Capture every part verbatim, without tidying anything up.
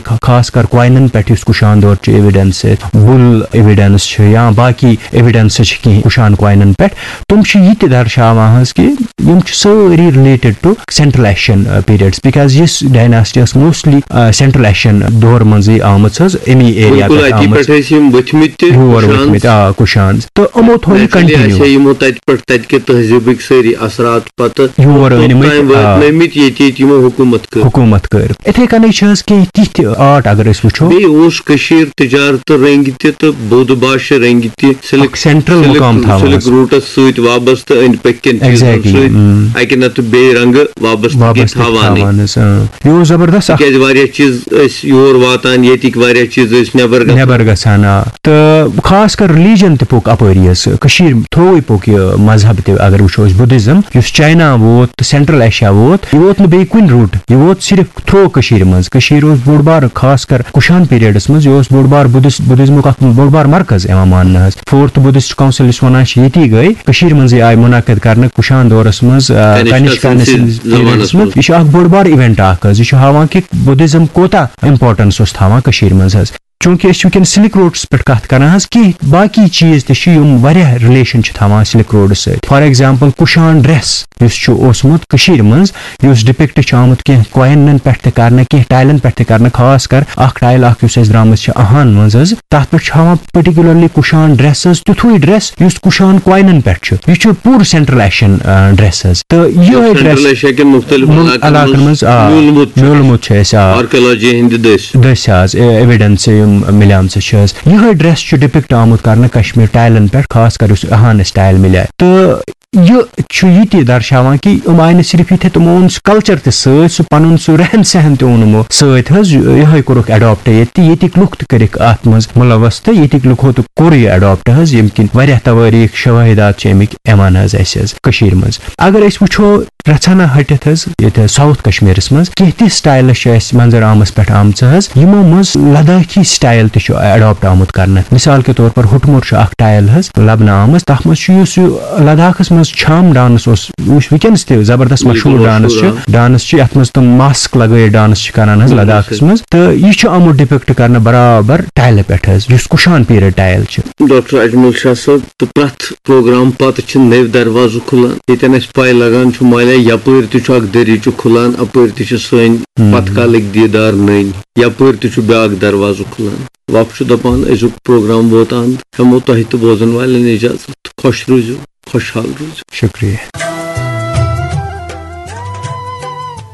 خا-، خاص کر کوینن پٮ۪ٹھ یُس کُشان دور چھُ ایویڈنس، بُل ایویڈنس چھُ یا باقی ایویڈنس چھِ کینٛہہ کُشان کوینن پٮ۪ٹھ، تِم چھِ یہِ تہِ درشاوان حظ کہِ یِم چھِ سٲری related to central Asian periods، because یُس ڈایناسٹی ٲس موسٹلی سینٹرل ایشین دور منٛزٕے آمٕژ حظ، امی ایریا بِلکُل، پٮ۪ٹھ اَتی آمٕژ۔ پٮ۪ٹھ ٲسۍ یِم ؤتھمٕتۍ تہِ، یور کُشان۔ ؤتھمٕتۍ، آ، کُشان۔ تہٕ یِمو تھوٚو یہِ نیچرلی continue۔ آسہِ ہا یِمو تَتہِ پٮ۪ٹھ، تَتہِ کہِ تہذیٖبٕکۍ سٲری اثرات پَتہٕ یور توٚت أنمٕتۍ، تام آ۔ واتنٲومٕتۍ، ییٚتہِ ییٚتہِ یِمو حکوٗمت کٔر۔ حکوٗمت کٔر۔ یِتھَے کَنَے چھِ حظ کینٛہہ تِتھۍ آرٹ اگر أسۍ وٕچھو۔ بیٚیہِ اوس کٔشیٖر تجارتہٕ رٔنٛگۍ تہِ تہٕ بودھ بھاشا رٔنٛگۍ تہِ، سِلک، اکھ سینٹرل سِلک، مُقام تھاوان سِلک حظ۔ روٗٹَس سۭتۍ وابستہٕ أنٛدۍ پٔکۍ کٮ۪ن چیٖزَن exactly، سۭتۍ۔ اَمم۔ اَکہِ نَتہٕ بیٚیہِ رنٛگہٕ وابستہٕ وابستہٕ تھاوانٕے۔ تھاوان حظ، اۭں۔ یہِ اوس زبردست اَکھ تِکیٛازِ واریاہ چیٖز ٲسۍ یور واتان، ییٚتِکۍ واریاہ چیٖز ٲسۍ نٮ۪بر گژھان۔ نٮ۪بر گژھان، آ۔ تہٕ خاص کر religion تہِ پوٚک اَپٲری حظ۔ کٔشیٖر تھرووٕے پوٚک یہِ مذہب تہِ، اگر وٕچھو أسۍ Buddhism، یُس چاینا ووت تہٕ سینٹرل ایشیا ووت، یہِ ووت نہٕ بیٚیہِ کُنہِ route، یہِ ووت صرف تھرو کٔشیٖرِ منٛز۔ کٔشیٖر اوس بوٚڑ بار، خاص کر کُشان پیریڈس منٛز، یہِ اوس بوٚڑ بار بُدھس-، بُدھزمُک اکھ بوٚڑ بار مرکز یِوان ماننہٕ حظ۔ فورتھ بُدھسٹ کونسل یُس وَنان چھِ، ییٚتی گٔے۔ کٔشیٖرِ منٛزٕے آیہِ مُنعقد کرنہٕ کُشان دورس منٛز، آ، کنشکا کنشکا سٕنٛدِس سٕنٛدِس زمانس پیریڈس منٛز۔ منٛز۔ یہِ چھُ اکھ بوٚڑ بار event اکھ حظ۔ یہِ چھُ ہاوان کہِ بُدھزم کوٗتاہ importance اوس تھاوان کٔشیٖرِ منٛز حظ۔ چوٗنٛکہِ أسۍ چھِ وٕنکیٚن سِلک روڈس پٮ۪ٹھ کتھ کران حظ، کینٛہہ باقی چیٖز تہِ چھِ یِم واریاہ relation چھِ تھاوان سِلک روڈس سۭتۍ۔ For example، کُشان ڈریس یُس چھُ اوسمُت کٔشیٖرِ منٛز، یُس depict چھُ آمُت کینٛہہ کوینن پٮ۪ٹھ تہِ کرنہٕ، کینٛہہ ٹایلن پٮ۪ٹھ تہِ کرنہٕ، خاص کر اکھ ٹایل اکھ یُس اَسہِ درٛامٕژ چھِ اہان منٛز حظ، تَتھ پٮ۪ٹھ چھُ ہاوان particularly کُشان ڈریس حظ، تیُتھُے ڈریس یُس کُشان کوینن پٮ۪ٹھ چھُ۔ یہِ چھُ پوٗرٕ سینٹرل ایشین، آ، ڈریس حظ۔ تہٕ یِہوٚے سینٹرل ڈریس ایشیا کٮ۪ن مُختٔلِف مُل-، علاقن علاقن منٛز، منٛز، آ، میوٗلمُت چھُ۔ میوٗلمُت چھُ اَسہِ، آ۔ آرکیالوجی ہِنٛدِ دٔسۍ۔ دٔسۍ حظ، اے-، ایویڈنس یِم مِلیمژٕ چھِ حظ۔ یِہوٚے ڈریس چھُ depict آمُت کرنہٕ کشمیر ٹایلن پٮ۪ٹھ، خاص کر یُس اہان اَسہِ ٹایل مِلے۔ تہٕ یہِ چھُ یہِ تہِ درشاوان کہِ یِم آیہِ نہٕ صرف یِتھے، تِمو اوٚن سُہ culture تہِ سۭتۍ، سُہ پنُن سُہ رہن سہن تہِ اوٚن یِمو سۭتۍ حظ۔ یِہوٚے کوٚرُکھ adopt ییٚتہِ تہِ، ییٚتِکۍ لُکھ تہِ کٔرِکھ اَتھ منٛز مُلوث تہٕ ییٚتِکۍ لُکو تہِ کوٚر یہِ adopt حظ، ییٚمہِ کِنۍ واریاہ توٲریٖخ شوٲہِدات چھِ اَمِکۍ یِوان حظ اَسہِ حظ کٔشیٖرِ منٛز۔ اگر أسۍ وٕچھو رژھنا ہٹِتھ حظ، ییٚتہِ حظ ساوُتھ کشمیٖرس منٛز کینٛہہ تِژھ styles چھِ اَسہِ منظر عامس پٮ۪ٹھ آمژٕ حظ، یِمو منٛز لداخی style تہِ چھُ adopt آمُت کرنہٕ۔ مثال کے طور پر ہُٹمُر چھُ اکھ style حظ لبنہٕ آمٕژ، تتھ منٛز چھُ یُس یہِ لداخس منٛز چھام dance اوس، یُس وٕنکیٚنس تہِ زبردست بِلکُل مشہوٗر dance مشہوٗر چھُ، آ۔ Dance چھُ یتھ منٛز تِم mask لگٲیِتھ dance چھِ کران حظ بِلکُل لداخس صحیح۔ منٛز، تہٕ یہِ چھُ آمُت depict کرنہٕ برابر ٹایلہِ پٮ۪ٹھ حظ، یُس کُشان period style چھُ۔ ڈاکٹر اجمل شاہ صٲب، تہٕ پرٛٮ۪تھ پروگرام پتہٕ چھِ نٔوۍ دروازٕ کھُلان۔ ییٚتٮ۪ن اَسہِ پَے لگان چھُ، مالیا یپٲرۍ تہِ چھُ اکھ دٔریٖچہٕ کھُلان، اپٲرۍ تہِ چھِ سٲنۍ ہم۔ پتھ کالٕکۍ دیٖدار نٔنۍ، یپٲرۍ تہِ چھُ بیٛاکھ دروازٕ کھُلان۔ وقت چھُ دپان، أزیُک پروگرام ووت اند، ہٮ۪مو تۄہہِ تہٕ بوزن والٮ۪ن اجازت۔ خۄش روٗزِو، خۄشحال روٗزِو۔ شُکریہ۔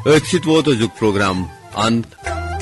أتھۍ سۭتۍ ووت أزیُک پروگرام اند۔